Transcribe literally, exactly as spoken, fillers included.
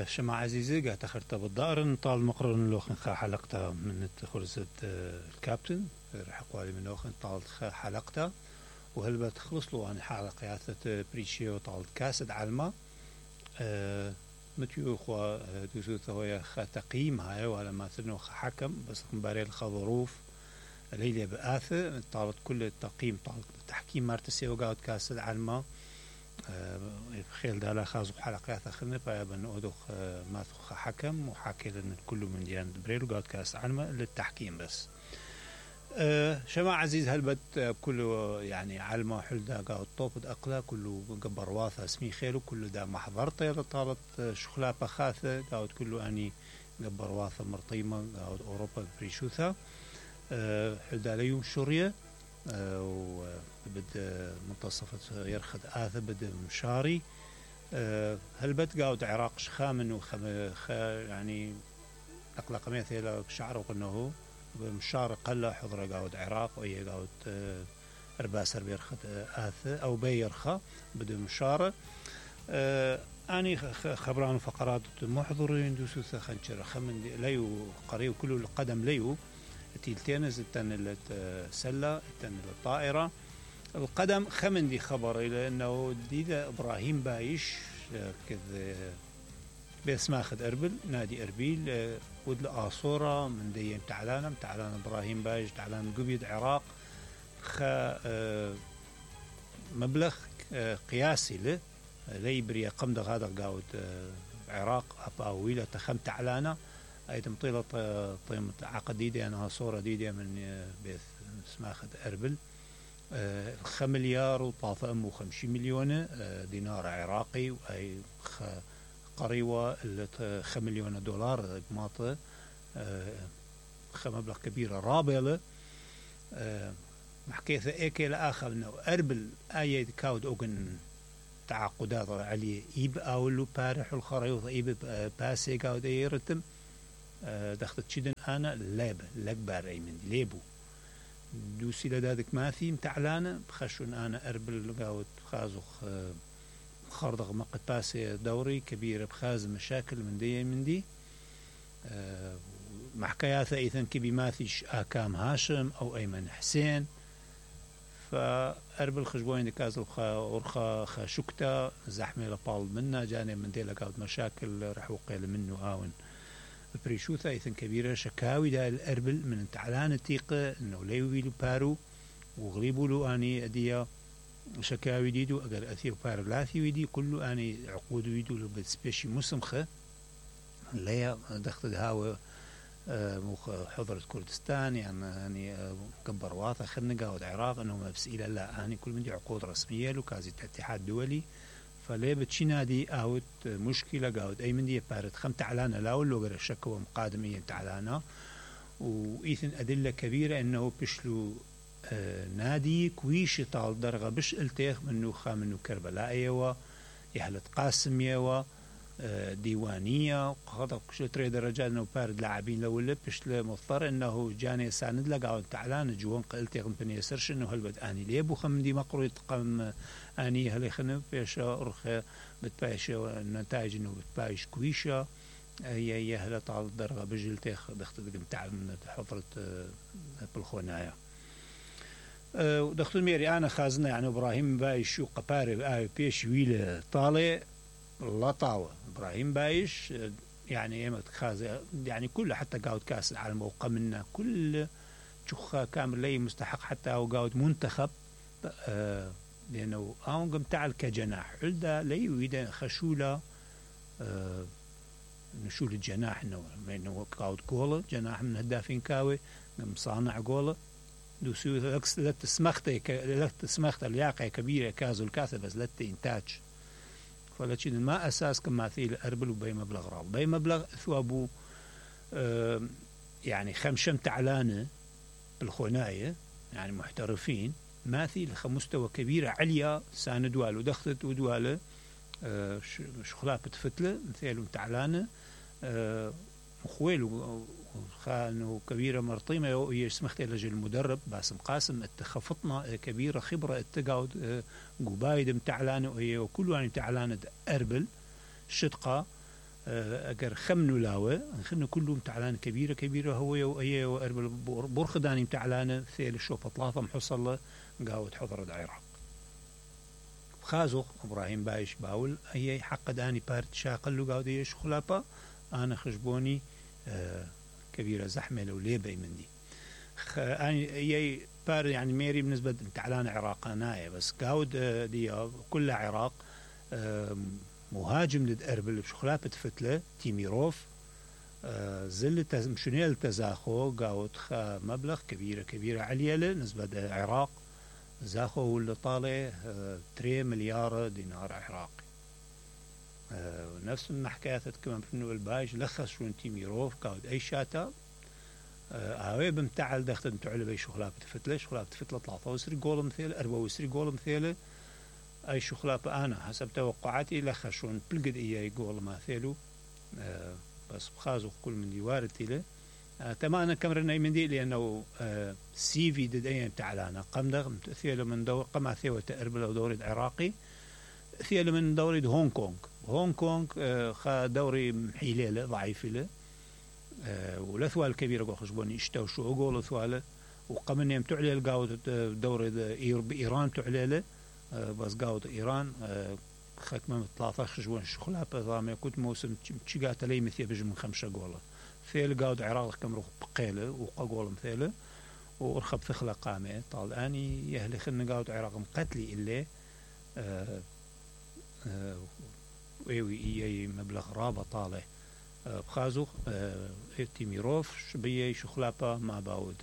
شما عزيزي قاعد تخرت بالدار نطال مقرن لوخن خا حلقتها من خرزة الكابتن رح قوالي من لوخن طالت خا حلقتها وهل بتخلص له عن حلقيات بريشيو طالت كاسد علما أه متيو خوا دوسو ثويا خا تقييم هاي ولا ما ثنو خا حكم بس مباري الخا ظروف ليلة بآثة طالت كل التقييم طالت التحكيم مارتسي وقاعد كاسد علما خيل دالا خازو حلقات اخرنا فابن اودخ ما خ حكم وحاكي لنا كله من ديان بريل وقاعد كاس علما للتحكيم بس أه شما عزيز هلبت كله يعني علما حلدا قاعد طوب اقلا كله قبر واثا اسمي خيلو كله دا محضرته طالت شخلا بخاثه قاعد كله اني قبر واثا مرطيمه قاعد اوروبا بريشوثا أه حلدا ليوم شوريا أه وبد منتصفة يرخد آثة بد مشاري أه هل بد قاود عراق شخامن وخم خ يعني أقلق مثلا شعر وقنه بمشار قلة حضرة قاود عراق وهي قاود أه أرباسر بيرخد آثة أو بيرخا بد مشارة أه أني خبران فقرات محضرين دوسوثة خنشر خمن ليو قريب كله القدم ليو تيلتينز التن السلة التن الطائرة القدم خمن دي خبر إلى أنه ديدا إبراهيم بايش كذا باسماخد أربل نادي أربيل ودل آصورة من دي تعلان تعلان إبراهيم بايش تعلان قبيد عراق خا مبلغ قياسي له ليبريا قمد هذا قاود عراق أباويلة تخم تعلانة أيضا طيلة طيمة عقد ديدي أنها صورة ديدي من بيث اسماخد أربل آه خمليار وطافة أمو خمسين مليون آه دينار عراقي وأي قريوة خمليون دولار بماطة آه خمبلغ كبيرة رابلة آه محكيثة إيكي لآخر أنه أربل آية كاود أوغن تعاقدات عليه إيب أولو بارح الخريوط إيب باسي كاود يرتم دخلت شدن أنا لابة لكبار أي من ليبو دوسي لدادك ماثي متعلانة بخشون أنا أربل قاوت خازخ خردغ مقت باسي دوري كبيرة بخاز مشاكل من دي من دي أه محكاياثة إذن كبي ماثيش آكام هاشم أو أيمن حسين فأربل خشبوين دكازل خا ورخا خا شكتا زحمة لبال منا جانب من دي لقاوت مشاكل رح وقيل منه آون بريشوثا إذن كبيرة شكاوي دا الأربل من تعلان التيقة إنه ليويلو بارو وغليبوا له أني أديا شكاوي ديدو أقل أثير بارو لاثي ويدي كله أني عقود ويدو له بسبيشي مسمخة ليا دخت هاو مخ حضرة كردستان يعني أني كبر واثا خلنا قاود عراق إنه ما بس إلى لا أني كل من دي عقود رسمية له كازي اتحاد دولي فليه بتشينادي اوت مشكله قاود اي من دي بارد خم تعلانه لا ولا غير الشكوى مقادميه تعلانه وايثن ادله كبيره انه بشلو آه نادي كويش طال درغه بش التيخ منه خا منه كربلاء يوا يهلت قاسم يوا آه ديوانيه وقضى شو تري درجات انه بارد لاعبين لو ولا بش مضطر انه جاني ساند لا قاود تعلان جوان قلتيغ بني سرش انه هل اني ليبو خم دي مقروي تقم اني هل خنب بيش ارخ بتبايش النتائج انه بتبايش كويشه هي هي هلا طال درغه بجلتيخ دخت تاع من حضره بالخونايا ودخت ميري انا خازنه يعني ابراهيم بايش وقباري اي بيش ويله طالع لطاوه ابراهيم بايش يعني ايمت خاز يعني كله حتى قاود كاس العالم وقمنا كل شخ كامل لي مستحق حتى وقاود منتخب آه لأنه أون قم تعال كجناح علدا لي ويدا خشولة آه نشول الجناح إنه إنه قاود جولة جناح من هدافين كاوي قم صانع جولة دوسيو لكس لت سمخته لت سمخته الياقة كبيرة كازو الكاسة بس لت إنتاج فلتشين ما أساس كما مثيل أربل وبي مبلغ راب بي مبلغ ثوابو آه يعني خمشم تعلانة بالخناية يعني محترفين ماثي لخمستوى كبيرة عليا ساندوال ودخلت ودواله آه شخلات بتفتله مثيل تعلانة آه مخويل وخانو كبيرة مرطيمة وهي سمحت لجل المدرب باسم قاسم اتخفطنا كبيرة خبرة اتقاود قبايد متعلانة وهي وكل يعني متعلانة أربل شدقة اگر خمنو لاوه خنو كلهم تعلان كبيره كبيره هو وهي واربل بورخداني تعلانه ثيل الشوفه ثلاثه محصله قاود حضر العراق خازوق ابراهيم بايش باول هي حق داني بارت شاقل له قاود ايش خلافه انا خشبوني آه كبيره زحمه لو ليبي مندي اني هي بار يعني ميري بالنسبه تعلان عراق نايه بس قاود آه دي كلها عراق آه مهاجم ضد اربل بشخلافه فتله تيميروف آه زل مشنيل تزاخو قاود خا مبلغ كبيره كبيره عليله نسبه العراق زاخو واللي طالع آه تري مليار دينار عراقي آه نفس ما حكايات كمان بنو البايش لخص شون تيميروف قاود اي شاتا هاوي آه بمتعل دخت متعل بي شخلافه فتله شخلافه فتله ثلاثة وسري جول مثيله أربعة وسري جول مثيله اي شخلافه انا حسب توقعاتي لخشون بلقد اياي جول ما ثيلو آه بس بخازو كل من يوارد له آه تماما كمرنا من دي لانه آه سي في دد ايام تعلانا قمدغ ثيله من دور قمع ثيوه اربل او دوري عراقي ثيله من دوري هونغ كونغ هونغ كونغ آه خا دوري محيله ضعيف له آه والثوال الكبيره قول خشبوني اشتو شو قول ثواله وقمن يوم تعلي القاود دوري بايران تعلي له آه بس قاود ايران آه ختمه ثلاثة عشر جوان شغلها بضامه كنت موسم تشيقات لي مثي بجي من خمسة جوله ثيل قاود عراق كم روح بقيله وقول مثيله ورخب ثخله قامه طال اني يهلي خلنا قاود عراق مقتلي الا آه آه ويوي اي مبلغ رابط طالع آه بخازوق آه تيميروف شبيه شخلابه ما باود